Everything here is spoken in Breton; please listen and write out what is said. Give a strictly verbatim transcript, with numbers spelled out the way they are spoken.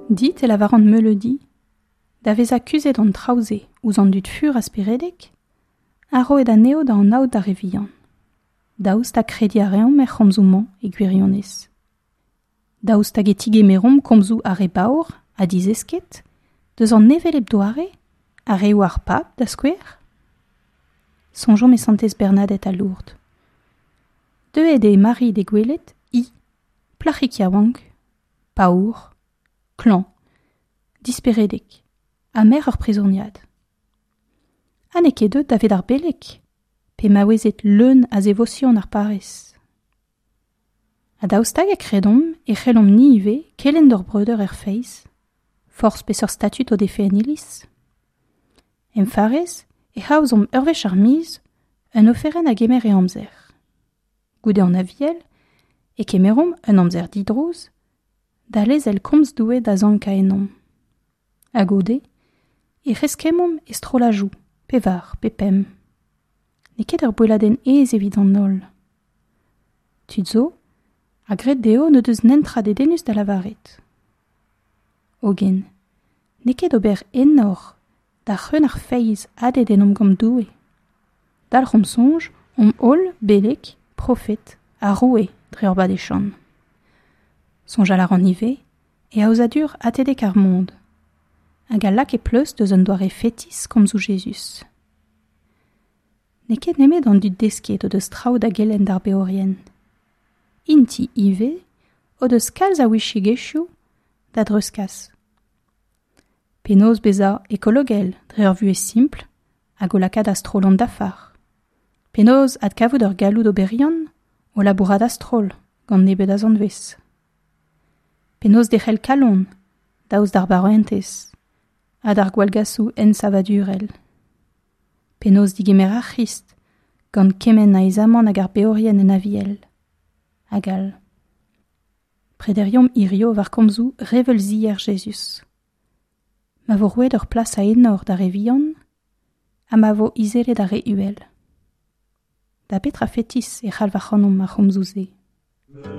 Dit e lavaran meuleudi, da vezañ kuzhet an traoù-se ouzh an dud fur ha speredek, ha roet anezho da anaout d'ar re vihan. Daoust ha krediñ a reomp er c'homzoù-mañ e gwirionez. Daoust hag e tigemeromp komzoù ar re baour ha dizesket, deus an hevelep doare, ar reoù ar pab, da skouer ? Soñjomp e santez Bernadette a Lourdes. Deuet eo Mari d'he gwelet, hi, plac'hig yaouank, paour, klañv, disperedek, ha merc'h ur prizoniad. Ha n'eo ket deuet davet ar beleg, pe maouezed leun a zevosion ar parrez. Ha daoust hag e kredomp e c'hellomp ni ivez kelenn d'hor breudeur er feiz, forzh peseurt statud o defe en iliz. Em farrez e aozomp ur wech ar miz un oferenn a gemer e amzer. Goude an Aviel e kemeromp un amzer didrouz da lezel komz Doue da sankañ ennomp. Ha goude e c'heskemmomp e strolladoù, pevar pe pemp. N'eo ket ur boelladenn aes evit an holl. Tud zo a gred dezho n'o deus netra dedennus da lavaret. Hogen, n'eo ket ober enor da c'hreun ar feiz hadet ennomp gant Doue. Dalc'homp soñj omp holl beleg, profed ha roue dre hor badeziant. Soñjal a ran ivez e aozadur atebek ar Mond, hag a lak e pleustr deus un doare fetis komzoù Jezuz. N'eo ket nemet an dud desket o deus traoù da gelenn d'ar beorien. Int-i ivez o deus kalz a ouiziegezhioù da dreuzkas. Penaos bezañ ekologel dre ur vuhez simpl hag o lakaat a-stroll an dafar. Penaos adkavout ur galloud oberiant o labourat a-stroll gant nebeut a zanvez. Penaos derc'hel kalon daoust d'ar baourentez ha d'ar gwallgasoù ensavadurel. Penaos digemer ar C'hrist gant kement a aezamant hag ar beorien en Aviel. Hag all. Prederiomp hirio war komzoù reveulzier Jezuz. Ma vo roet ur plas a enor d'ar re vihan, ha ma vo izelet ar re uhel. Da betra fetis e c'halv ac'hanomp ar c'homzoù-se.